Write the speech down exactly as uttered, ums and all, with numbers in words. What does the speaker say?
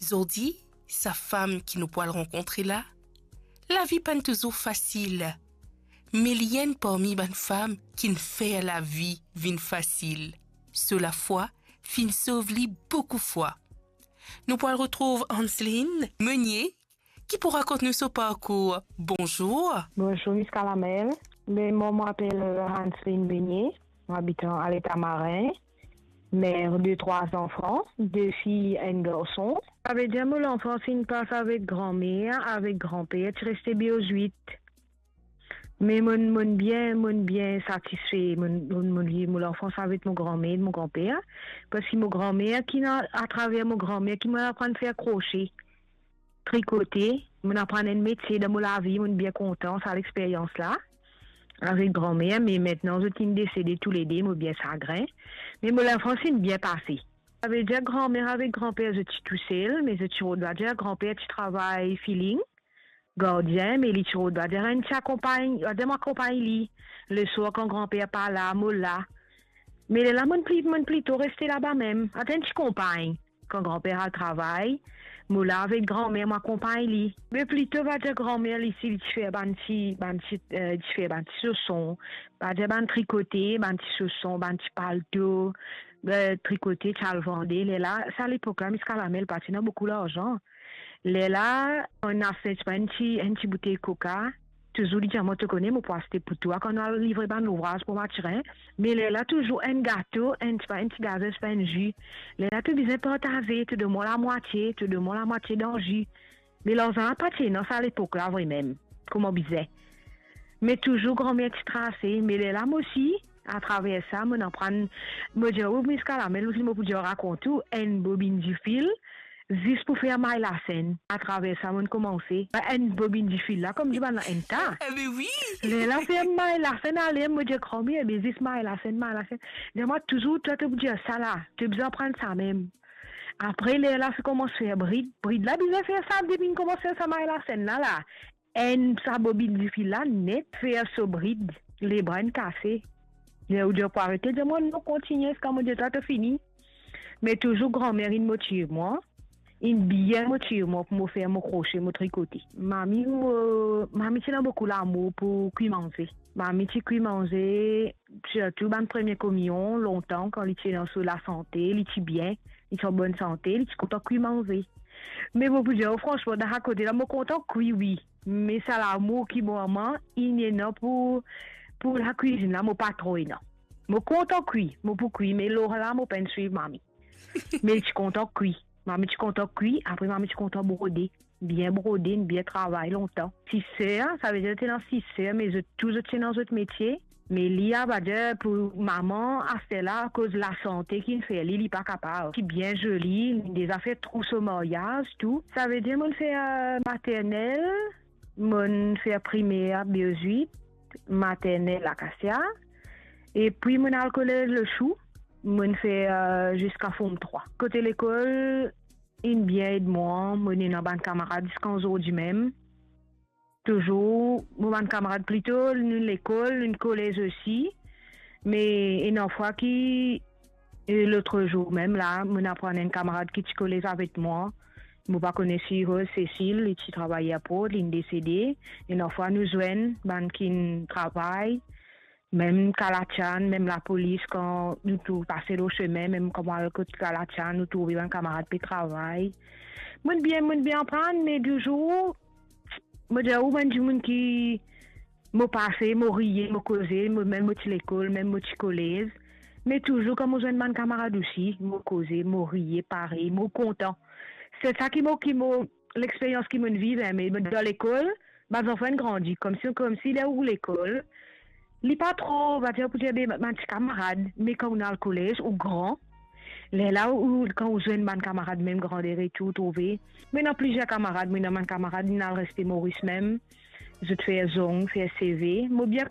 Zordi, sa fam ki nou pou al rankontre la, lavi pa'nn touzour fasil, me li enn parmi bann fam ki'nn fer lavi vinn fasil. So lafwa finn sov li boukou fwa. Nou pou al retrouv Anseline Meunier, ki pou rakont nou so parkour. Bonzour. Bonzour, Miss Calamel. Me mwa, mo apel, euh, Anseline Meunier. Mo abit an, a Leta Marin. Mer de trwa zanfan, de fi, enn garson. Savedir mo lanfans inn pas avek granmer, avek granper, ti reste Biozwit. Me mo'nn, mo'nn bien, mo'nn bien satisfe, mo'nn, mo'nn, mo'nn viv mo lanfans avek mo granmer, mo granper, parski mo granmer ki ena, atraver mo granmer ki mo'nn aprann fer krosie, trikote, mo'nn aprann enn metie dan mo lavi, mo'nn bien kontan sa lexperyans la avek granmer, me aster zot inn desede toulede, mo bien sagrin, me mo lanfans inn bien pase. Savedir granmer avek granper zot ti tousel, me zot ti rod, vadir granper ti travay filling, gardien, me li ti rod, vadir enn ti akonpagn, vadir mo akonpagn li. Leswar kan granper pa la, mo la. Me lerla mo'nn pli, mo'nn plito reste laba mem, aster enn ti konpagn. Kan granper al travay, mo la avek granmer, mo akonpagn li. Me plito, vadir granmer li, si li ti fer bann ti, bann ti, euh, ti fer bann ti soson, vadir bann trikote, bann ti soson, bann ti palto, euh, trikote, ti al vande. Lerla, sa lepok la, Miss Calamel, pa ti ena boukou larzan. Lerla, inn aste, ti pran enn ti, enn ti boutey koka, touzour li dir mwa, to kone, mo pou aste pou twa kan nou al livre bann louvraz pou Mathurin. Me lerla touzour enn gato, enn ti pa, enn ti gazo, ti pa enn zi. Lerla to bizin partaze, to donn mwa lamwatie, to donn mwa lamwatie dan zi. Me larzan la pa ti ena sa lepok la vremem, kouma bizin. Me touzour granmer ti trase, me lerla mo osi, atraver sa, mo'nn aprann, mo dir ou, Miss Calamel, mo pou dir rakont ou, enn bobinn difil, zis pou fer may lasenn. Atraver sa mo'nn koumanse. Enn bobinn difil la, kouma dir bann la, enn ta. Ebe wi. Lerla fer may lasenn ale, mo dir granmer, ebe zis may lasenn, may lasenn. Dir mwa touzour, twa to pou dir sa la, to bizin aprann sa mem. Apre lerla finn koumans fer brid. Brid la bizin fer sa, depi inn koumans fer sa may lasenn la, la. Enn sa bobinn difil la net, fer so brid, lebra inn kase. Ler ou dir pou arete, dir mwa non, kontigne ziska mo dir twa to fini. Me touzour granmer inn motiv mwa, inn bien motiv mwa pou mo fer mo krosie, mo trikote. Mami, mo, mami ti ena boukou lamour pou kwi manze. Mami ti kwi manze, sirtou bann premie kominyon, lontan, kan li ti ena so lasante, li ti bien, li ti an bonn sante, li ti kontan kwi manze. Me mo pou dir ou fransman, dan sa kote la, mo kontan kwi, wi. Me sa lamour ki mwa, mwa, inn ena pou, pou lakwizinn la, mo pa tro ena. Mo kontan kwi, mo pou kwi, me lor la, mo pa'nn swiv mami. Me li ti kontan kwi. Mami ti kontan kwi, apre mami ti kontan brode. Bien brode, bien travay lontan. Sis ser, savedir ti ena sis ser, me zot tou zot ti ena zot metie. Me li, a, vadir pou mama, aster la, akoz lasante ki'nn fer li, li pa kapav. Ti bien zoli, li deza fer trou so maryaz, tou. Savedir mo'nn fer, euh, maternel, mo'nn fer primer Biozwit, maternel Akasia, epi mo'nn al kolez Lechou, mo'nn fer, euh, ziska Form trwa. Kote lekol, inn bien ed mwa, mo'nn ena bann kamarad ziska zordi mem. Touzour, mo bann kamarad plito, nou lekol, nou kolez osi. Me ena fwa ki, e, lotrezour mem la, mo'nn aprann enn kamarad ki ti kolez avek mwa. Mo pa kone si, oh, Cécile, li ti travay airport, li'nn desede. Ena fwa nou zwenn bann ki'nn travay. Mem Kalatian, mem lapolis, kan nou tou pase lor sime, mem kan mo al kot Kalatian, nou trouve bann kamarad pe travay. Mo'nn bien, mo'nn bien aprann, me touzour, mo dir ou, mo'nn dimoun ki mo pase, mo riye, mo koze, mo, mem mo ti lekol, mem mo ti kolez. Me touzour, kan mo zwenn bann kamarad osi, mo koze, mo riye, pare, mo kontan. Se sa ki mo, ki mo, lexperyans ki mo'nn viv, e, me dan lekol, bann zanfan inn grandi, koumsi, koumsi ler ou lekol, li pa tro, vadir, pou dir, be, bann ti kamarad, me kan ou al kolez, ou gran, lerla ou, kan ou zwenn bann kamarad mem grander e tou, ou trouve. Mo ena plizier kamarad, mo ena bann kamarad, inn al reste Moris mem, zot fer zong, fer seve. Mo bien